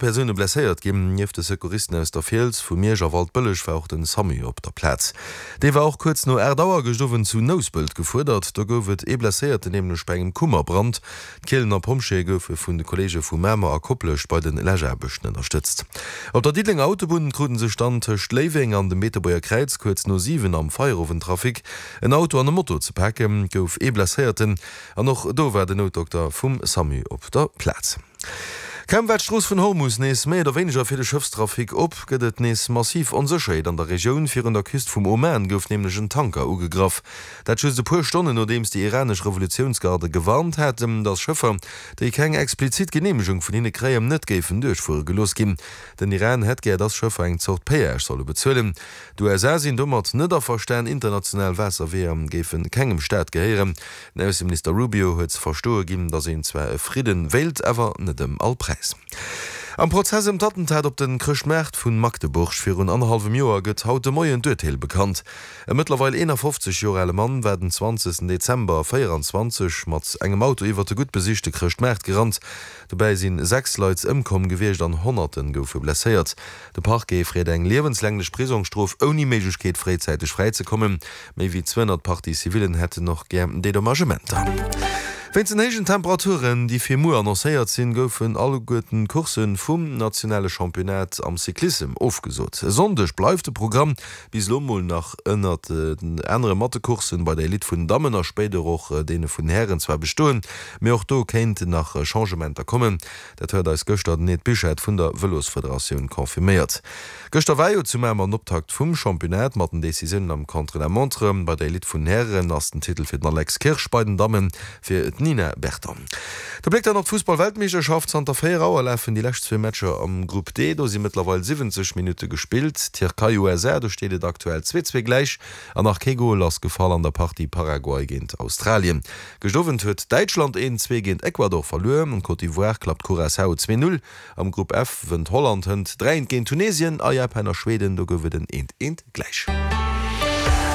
Persoune blesséiert ginn. Nieft de Secouristen aus der Fiels, vu Miersch a Waldbëlleg war och den Samu op der Plaz. Dee war och kuerz no 8 Auer gëscht Owend zu Nouspelt gefuerdert. Do gouf et ee Blesséierten, nämlech bei engem Kummerbrand. D'Kielener Pompjeeë goufe vun de Kolleege vu Mamer a Koplescht bei de Läschaarbechten ënnerstëtzt. Op der Diddelenger Autobunn kruten sech dann tëscht Léiweng an dem Beetebuerger Kräiz kuerz no 7 am Feierowendtrafic en Auto an e Moto ze paken. Et gouf ee Blesséierten an och do war den Noutdokter vum Samu op der Plaz. Kaum war d'Strooss vun Hormus nees méi oder wéineger fir de Schëffstrafic op, gëtt et nees massiv Onsécherheet an der Regioun. Virun der Küst vum Oman gouf nämlech en Tanker ugegraff. Dat just e puer Stonnen nodeems déi iranesch Revolutiounsgarde gewarnt haten, datt Schëffer, déi keng explizit Geneemegung vun hinne kréien, net géifen duerchfuere gelooss ginn. Den Iran hätt gär, datt Schëffer eng Zort Péage solle bezuelen. D'USA sinn domat net averstan, international Waasserweeër géife kengem Staat gehéieren. Den Ausseminister Rubio huet ze verstoe ginn, datt een zwar e Fridden wéilt, awer net ëm all Präis. Am Prozess ëm d'Attentat op de Chrëschtmaart vu Magdeburg virun annerhallwem Joer gëtt haut de Moien d'Urteel bekannt. E mëttlerweil 51 Joer ale Mann war den 20 Dezember 24 mat engem Auto iwwer de gutt besichte Chrëschtmaart gerannt. Dobäi si 6 Leit ëmkomm gewiescht an Honnerte goufe blesséiert. De Parquet freet eng liewenslänglech Prisongsstrof ouni Méiglechkeet fréizäiteg fräizekommen. Méi wéi 200 Parties civillen hätten och gär Dedommagementer. Wéinst den héijen Temperaturen, déi fir muer annoncéiert sinn, goufen alleguerten d'Coursse vum nationale Championnat am Cyclissem ofgesot. E Sonndeg bleift de Programm bis elo mol nach ënnert anerem mat de Courssen bei der Elite vun den Dammen a spéider och deene vun den Hären zwar bestoen, mee och do kéinten nach Changementer kommen. Dat huet eis gëschter den Ed Buchert vun der Vëlosfederatioun confirméiert. Gëschter war jo zu Mamer den Optakt vum Championnat mat den Decisiounen am Contre-la-montre. Bei der Elite vun den Hären ass den Titel fir den Alex Kirsch, bei den Damme fir d'Nina Berton. De Bléck dann op d'Fussball-Weltmeeschterschaft. Zanter 4 Auer lafen déi lescht zwee Matcher am Grupp D. Do si mëttlerweil 70 Minutte gespillt. Tierkei, USA, do steet et aktuell 2, 2 gläich an nach kee Gol ass gefall an der Partie Paraguay géint Australien. Gëscht Owend huet Däitschland 1, 2 géint Ecuador verluer. Côte d'Ivoire klappt Curaçao 2, 0. Am Grupp F wënnt Holland hënt 3, 1 géint Tunesien a Japan a Schweden, do gouf et en 1, 1 gläich.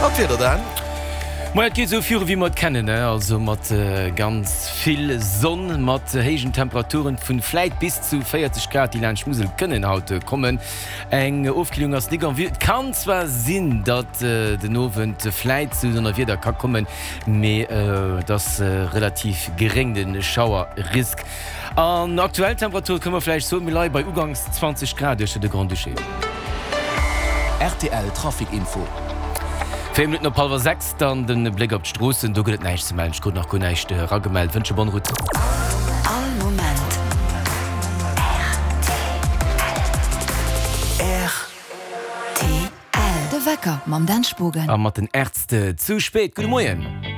An d'Wieder dann? Moien, et geet esou viru wéi mer et kennen, also mat ganz vill Sonn, mat héijen Temperaturen vun vläit bis zu 40 Grad, déi laanscht d'Musel kënnen haut kommen. Eng Ofkillung ass nik en vue. Et kann zwar sinn, datt den Owend vläit zu Donnerwieder ka kommen, Mee et ass relativ geréng de Schauerrisk. An aktuell Temperature kënne mer vläicht soen, mir leie bei uganks 20 Grad uechter de Grand-Duché. Rtl Trafic Info. 4 Minutten op hallwer 6, dann de Bléck op d'Stroossen. Do gëtt et näischt ze mellen. Ech krut nach guer näischt eragemellt. Wënsche bonne route. All Moment rtl. De Wecker mam Dan Spogen. A mat den Ärzte zu spéit. Gudde Moien.